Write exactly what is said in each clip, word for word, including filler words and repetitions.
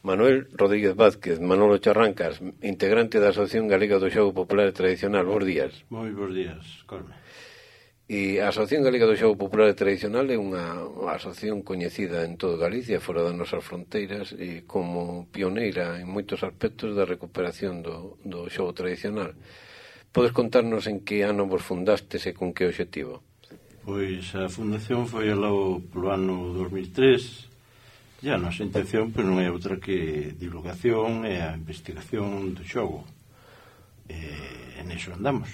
Manuel Rodríguez Vázquez, Manolo Charrancas, integrante da Asociación Galega do Xogo Popular e Tradicional. Bos días. Moi bos días, Colme. E a Asociación Galega do Xogo Popular e Tradicional é unha asociación coñecida en todo Galicia, fora das nosas fronteiras, e como pioneira en moitos aspectos da recuperación do, do xogo tradicional. Podes contarnos en que ano vos fundastes e con que obxectivo? Pois a fundación foi aló polo ano dos mil tres. E a nosa intención pois, non é outra que divulgación e a investigación do xogo. E en eso andamos.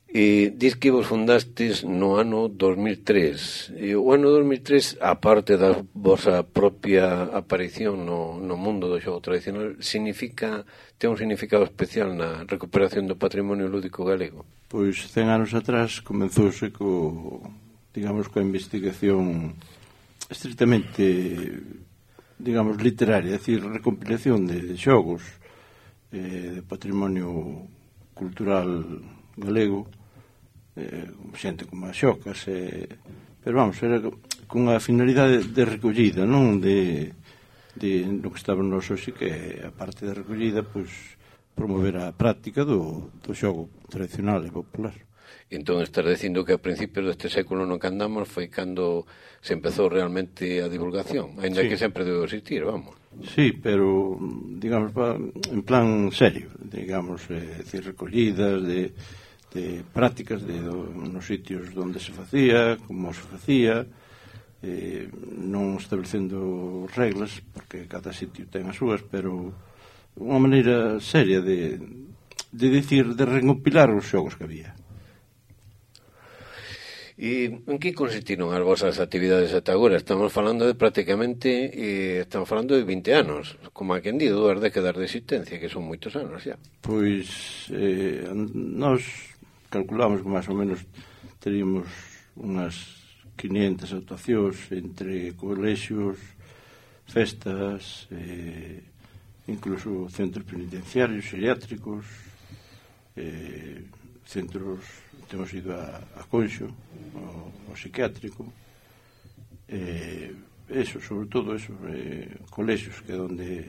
E dis que vos fundastes no ano dos mil tres. E o ano dos mil tres, aparte da vosa propia aparición no, no mundo do xogo tradicional, significa, ten un significado especial na recuperación do patrimonio lúdico galego? Pois cen anos atrás comenzouse co, digamos, coa investigación estritamente, digamos, literaria, é dicir, recompilación de xogos eh, de patrimonio cultural galego, eh, xente como as xocas, eh, pero vamos, era con a finalidade de recollida, non de, de no que estaba no noso xe, que a parte da recollida, pois, promover a práctica do, do xogo tradicional e popular. Entón estás dicindo que a principios deste século no que andamos foi cando se empezou realmente a divulgación, ainda sí. que sempre debe existir, vamos. Sí, pero, digamos, en plan serio, digamos, é dicir, recollidas de, de prácticas de, do, nos sitios onde se facía, como se facía, eh, non establecendo reglas, porque cada sitio ten as súas, pero unha maneira seria de, de dicir, de recompilar os xogos que había. E en que consistiron as vosas actividades ata agora? Estamos falando de prácticamente, eh, estamos falando de vinte anos, como a quen di, dúas décadas de existencia, que son moitos anos xa. Pois, eh, nós calculamos que máis ou menos teríamos unhas quinientas actuacións entre colexios, festas, eh, incluso centros penitenciarios, geriátricos, eh, centros, temos ido a, a Conxo, o, o psiquiátrico, eh, eso, sobre todo eso, eh, colexios, que é onde,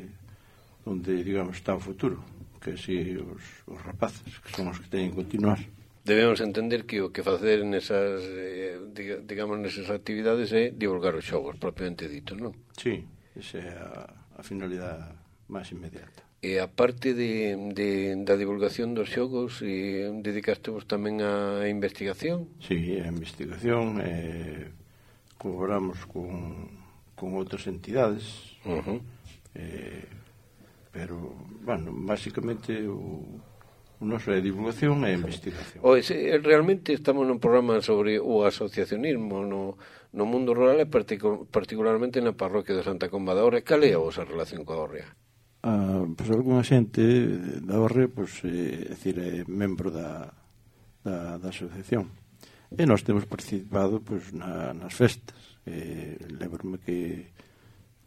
onde, digamos, está o futuro, que así os, os rapaces, que son os que teñen que continuar. Debemos entender que o que facer nesas, eh, digamos, nesas actividades é divulgar os xogos, propiamente dito, non? Sí, esa é a, a finalidade máis inmediata. E a parte de, de, da divulgación dos xogos, e dedicastevos tamén á investigación? Sí, a investigación, eh, colaboramos con, con outras entidades, uh-huh. eh, pero, bueno, básicamente o, o noso é divulgación e investigación. O, ese, realmente estamos nun programa sobre o asociacionismo no, no mundo rural e particu- particularmente na parroquia de Santa Comba da Hórrea. Cal é a vosa relación coa Hórrea? Ah, pois algunha xente da Hórrea, pois, é, é dicir, é membro da, da, da asociación, e nós temos participado, pois, na, nas festas. Eh, lembro-me que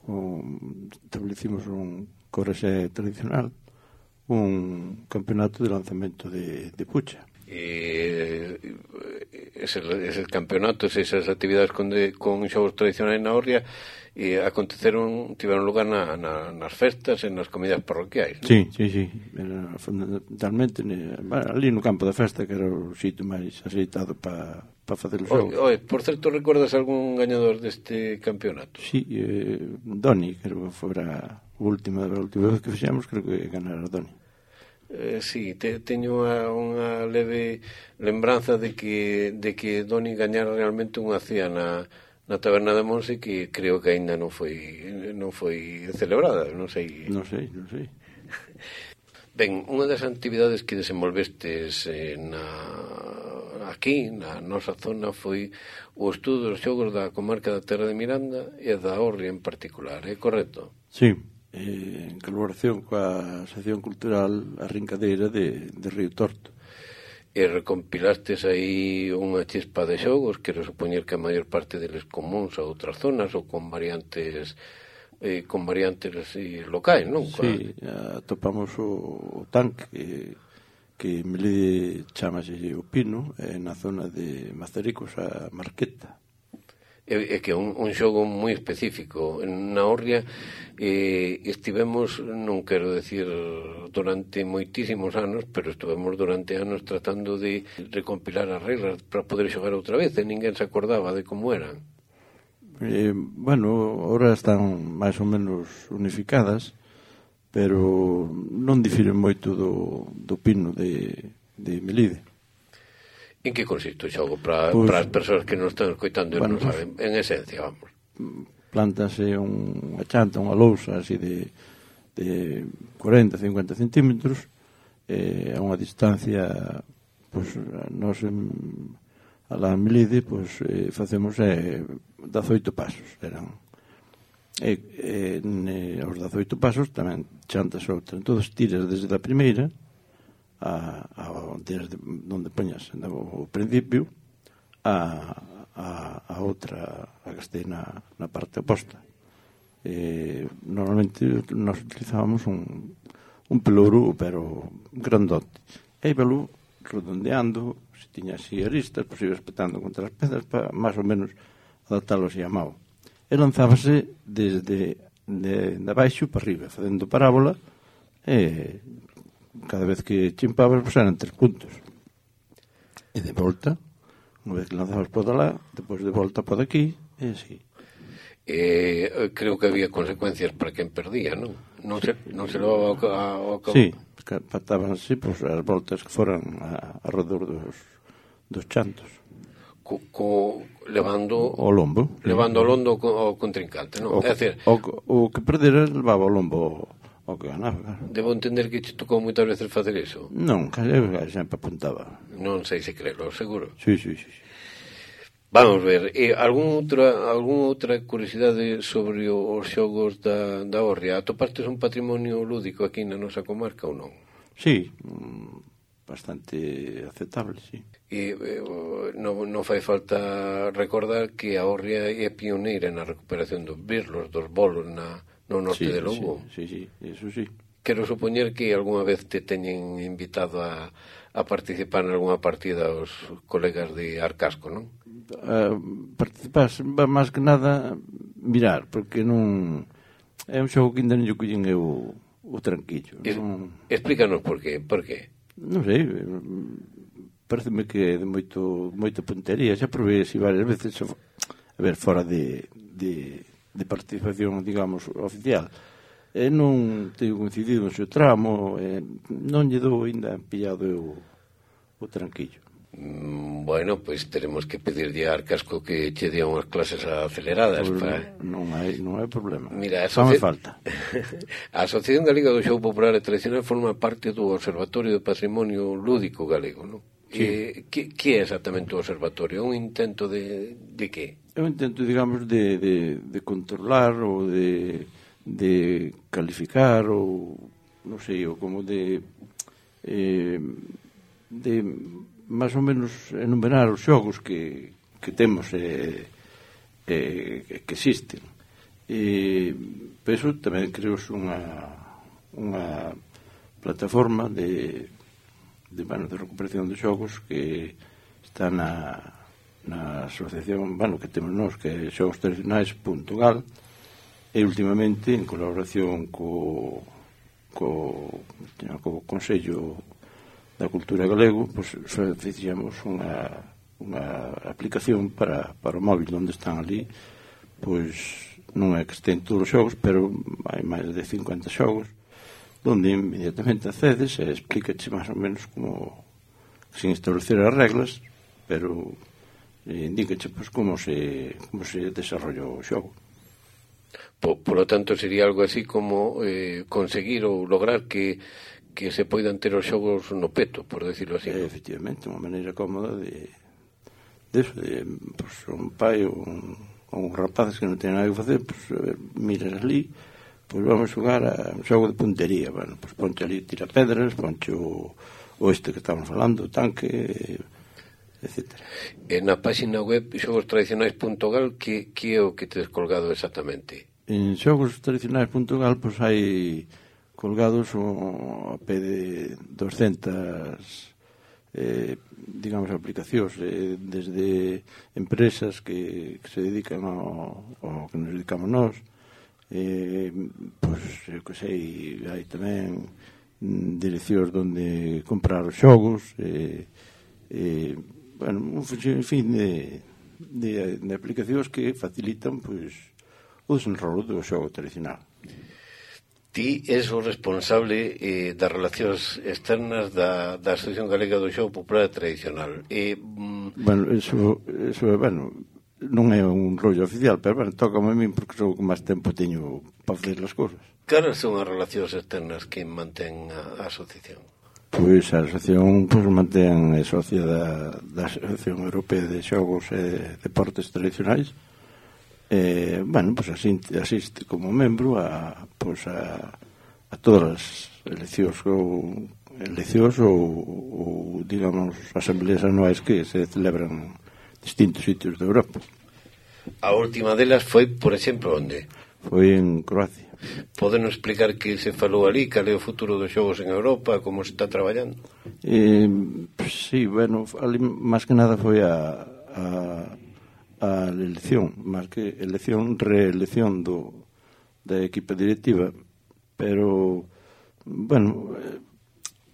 um, establecimos un correxe tradicional, un campeonato de lanzamento de, de pucha. E eses, eses campeonatos, esas actividades con, de, con xogos tradicionais na Hórrea, e aconteceron, tiveron lugar na, na, nas festas e nas comidas parroquiais, non? Sí, sí, sí, era fundamentalmente bueno, ali no campo da festa, que era o sitio máis aceitado para pa facer os xogos. Oye, por certo, recordas algún gañador deste campeonato? Sí, eh, Doni, creo que fora a última, a última vez que fixemos, creo que ganara Doni. Eh, sí, te, teño unha, unha leve lembranza de que, de que Doni gañara realmente unha cea na na taberna de Monse, que creo que aínda non foi non foi celebrada, non sei. Non sei, non sei. Ben, unha das actividades que desenvolvestes eh, na, aquí, na nosa zona, foi o estudo dos xogos da comarca da Terra de Miranda e da Hórrea en particular, é correcto? Sí, eh, en colaboración coa sección cultural A Rincadeira de, de Río Torto. E recompilastes aí unha chispa de xogos, quero supoñer que a maior parte deles comuns a outras zonas ou con variantes eh, con variantes así, locais, non? Sí, atopamos o, o tanque que, que Melide chamase o Pino, eh, na zona de Mazaricos a Marqueta. É, é que é un, un xogo moi específico. Na Orria eh, estivemos, non quero decir durante moitísimos anos, pero estivemos durante anos tratando de recompilar as reglas para poder xogar outra vez, e ninguén se acordaba de como eran. Eh, bueno, ahora están máis ou menos unificadas, pero non difiren moito do, do pino de, de Melide. En que consiste o xogo para pues, as persoas que non están escoitando e bueno, non saben? En esencia, vamos. Plantase unha chanta, unha lousa así de, de cuarenta a cincuenta centímetros, eh, a unha distancia, pues, nos en, a la Melide, pues, eh, facemos eh, dezoito pasos, eran. E, e ne, aos dezoito pasos tamén chantas outra. Entón, tiras desde a primeira a, a desde onde poñas o principio a, a, a outra a que este na, na parte oposta. Eh, normalmente nós utilizábamos un, un pelouro, pero grandote, e íbalo redondeando, se tiña así aristas, pois iba espetando contra as pedras para máis ou menos adaptalo así a mao, e lanzábase desde de, de abaixo para arriba, facendo parábola, e cada vez que chimpabas, pues eran tres puntos. E de volta, unha vez que lanzabas por alá, depois de volta por aquí, e así. Eh, creo que había consecuencias para quen perdía, non? Non se, non se levaba ao cabo. Sí, patábanse, pues, as voltas que foran a, a redor dos, dos chantos. Co, co, levando o lombo. Levando o lombo ao contrincante, non? O, é decir, o, o que perdera levaba o lombo o que ganaba, claro. Debo entender que te tocou moitas veces facer iso. Non, casi sempre apuntaba. Non sei se crelo, seguro. Sí, sí, sí. Vamos ver, eh, algún outra, algún outra curiosidade sobre os xogos da, da Orria? Atopastes un patrimonio lúdico aquí na nosa comarca ou non? Sí, bastante aceptable, sí. E eh, non, non fai falta recordar que a Orria é pioneira na recuperación dos birlos, dos bolos na, no norte sí, de Lugo. Sí, sí, sí, eso sí. Quero supoñer que algunha vez te teñen invitado a, a participar en algunha partida os colegas de Arcasco, non? Uh, participar, máis que nada mirar, porque non é un xogo que ainda non lle collen eu o tranquillo. Es, non... Explícanos por qué, por qué? Non sei, pareceme que é de moito, moita puntería, xa probei así varias veces, a ver, fora de, de, de participación, digamos, oficial. E non teño coincidido no seu tramo, e non lle dou ainda pillado eu o tranquillo. Mm, bueno, pois pues teremos que pedirlle a Arcasco que che dea unhas clases aceleradas. Pues para... non, hai, non hai problema. Mira, Só me falta. A Asociación Galega do Xogo Popular e Tradicional forma parte do Observatorio do Patrimonio Lúdico Galego, non? Sí. Eh, que, que é exactamente o observatorio? É un intento de, de que? É un intento, digamos, de, de, de controlar ou de, de calificar ou, non sei, ou como de eh, de máis ou menos enumerar os xogos que, que temos e eh, eh, que existen. E por iso tamén creo unha unha plataforma de de, bueno, de recuperación de xogos que está na, na asociación, bueno, que temos nós, que é xogos tradicionais punto gal, e últimamente en colaboración co co, co Consello da Cultura Galego, pois pues, fixemos unha unha aplicación para, para o móvil onde están ali, pois non é que estén todos os xogos, pero hai máis de cincuenta xogos donde inmediatamente accedes e explícache máis ou menos como, sin establecer as reglas, pero eh, indícache pois, como se como se desarrolla o xogo. Por, por lo tanto, sería algo así como eh, conseguir ou lograr que que se poidan ter os xogos no peto, por decirlo así. Eh, efectivamente, unha maneira cómoda de de, eso, de pues, un pai ou un, un rapaz que non ten nada que facer, pues, miras ali, pois vamos xogar a un xogo de puntería. Bueno, pois ponche ali tira pedras, ponche o, o este que estamos falando, o tanque, etcétera. E na página web xogos tradicionais punto gal, que, que é o que tedes colgado exactamente? En xogos tradicionais punto gal, pois hai colgados o, a pé de doscientas eh, digamos, aplicacións eh, desde empresas que, que se dedican ao, ao que nos dedicamos nós, eh, pois, eu que sei, hai tamén direccións onde comprar os xogos, eh, eh, bueno, un fin de, de, de aplicacións que facilitan, pois, o desenrolo do xogo tradicional. Ti és o responsable eh, das relacións externas da, da Asociación Galega do Xogo Popular Tradicional. E, mm... Bueno, eso, eso, bueno, non é un rollo oficial, pero, bueno, tócame a mí porque sou o que máis tempo teño para facer as cousas. Caras son as relacións externas que mantén a, a asociación? Pois a asociación pois, mantén a socia da, da Asociación Europea de Xogos e Deportes Tradicionais. Eh, bueno, pois asiste, asiste como membro a, pois a, a todas as eleccións ou eleccións ou, ou digamos asambleas anuais que se celebran en distintos sitios de Europa. A última delas foi, por exemplo, onde? Foi en Croacia. Podenos explicar que se falou ali, cal é o futuro dos xogos en Europa, como se está traballando? Eh, sí, bueno, ali máis que nada foi a a a elección, máis que elección, reelección do, da equipa directiva, pero, bueno,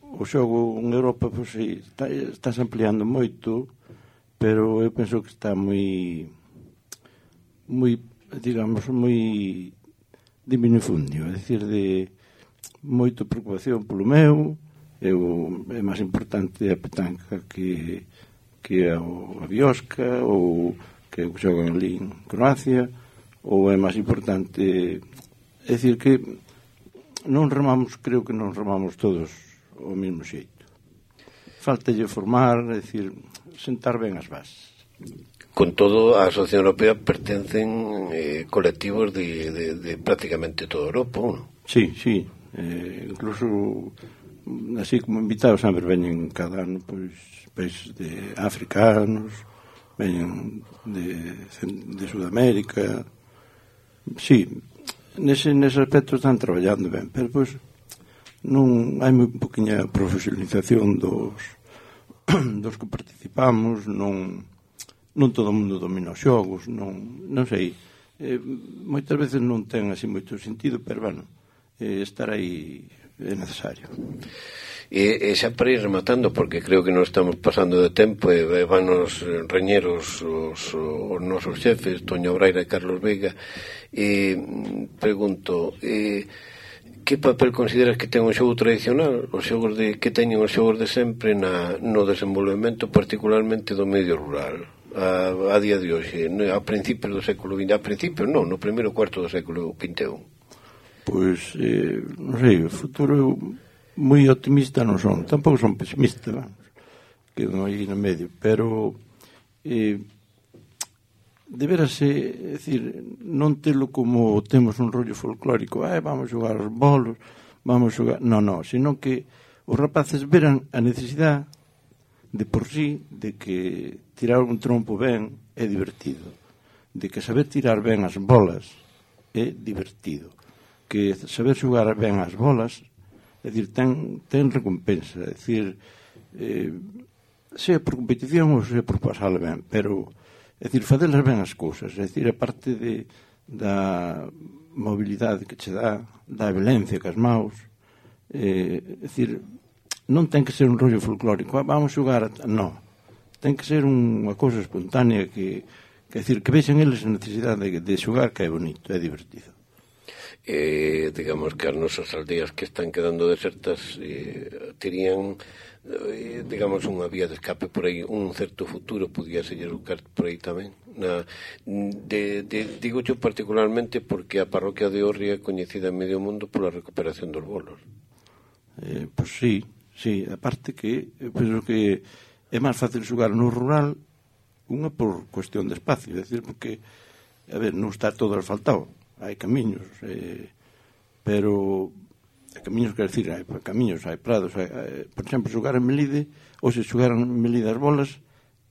o xogo en Europa, pois, sí, está, está se ampliando moito, pero eu penso que está moi, moi, digamos, moi diminufundio, é dicir, de moita preocupación polo meu, eu, é máis importante a petanca que, que a, a biosca, ou que xogan ali en Croacia, ou é máis importante, é dicir que non remamos, creo que non remamos todos ao mesmo xeito. Faltalle formar, é dicir, sentar ben as bases. Con todo, a Asociación Europea pertencen eh, colectivos de, de, de prácticamente toda Europa, non? Sí, sí, eh, incluso así como invitados sempre veñen cada ano, pois, países de africanos, veñen de, de Sudamérica. Sí, nese, nese aspecto están traballando ben, pero pois non hai moi poquinha profesionalización dos dos que participamos, non non todo o mundo domina os xogos, non, non sei, eh, moitas veces non ten así moito sentido, pero bueno, eh, estar aí é necesario. E, e xa para ir rematando, porque creo que non estamos pasando de tempo e van os reñeros os, os nosos xefes, Toño Braira e Carlos Veiga, e pregunto, e, que papel consideras que ten o xogo tradicional, os xogos de, que teñen os xogos de sempre na, no desenvolvemento particularmente do medio rural a, a día de hoxe, a principios do século vinte, a principios non, no primeiro cuarto do século vinte e un? Pois, eh, non sei, o futuro moi optimista non son, tampouco son pesimista, vamos, quedo aí no medio, pero eh, deberase, é dicir, non telo como temos un rollo folclórico, ah, vamos xogar os bolos, vamos xogar, non, non, sino que os rapaces veran a necesidade de por sí de que tirar un trompo ben é divertido, de que saber tirar ben as bolas é divertido, que saber xogar ben as bolas, é dicir, ten, ten recompensa, é dicir, eh, sea por competición ou sea por pasar ben, pero, é dicir, fadelas ben as cousas, é dicir, a parte de, da mobilidade que che dá, da violencia que as maus, eh, é dicir, non ten que ser un rollo folclórico, ah, vamos xogar, non, ten que ser unha cousa espontánea que, que é dicir, que vexen eles a necesidade de, de xogar, que é bonito, é divertido. Eh, digamos que as nosas aldeas que están quedando desertas eh, terían eh, digamos unha vía de escape por aí, un certo futuro podía ser buscar por aí tamén na, de, de, digo yo particularmente porque a parroquia de Orri é coñecida en medio mundo pola recuperación dos bolos. Eh, pois sí, sí, aparte que eu penso que é máis fácil xogar no rural, unha por cuestión de espacio, é dicir, porque a ver, non está todo asfaltado, hai camiños, eh, pero hai camiños, quer decir, hai camiños, hai prados, hai, hai, por exemplo, xogar en Melide, ou se xogar en Melide as bolas,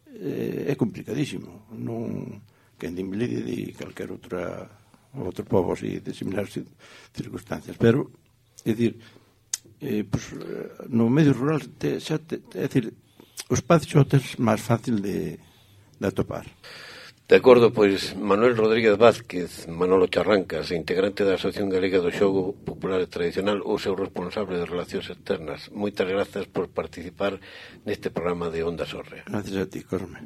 eh, é complicadísimo. Non, que en Melide de calquer outra outro povo así de similares circunstancias, pero, é dicir, eh, pues, no medio rural, te, xa te, é dicir, os padxotes máis fácil de, de atopar. De acordo, pois, Manuel Rodríguez Vázquez, Manolo Charrancas, integrante da Asociación Galega do Xogo Popular e Tradicional, o seu responsable de Relacións Externas. Moitas grazas por participar neste programa de Onda Sorrea. Gracias a ti, Corme.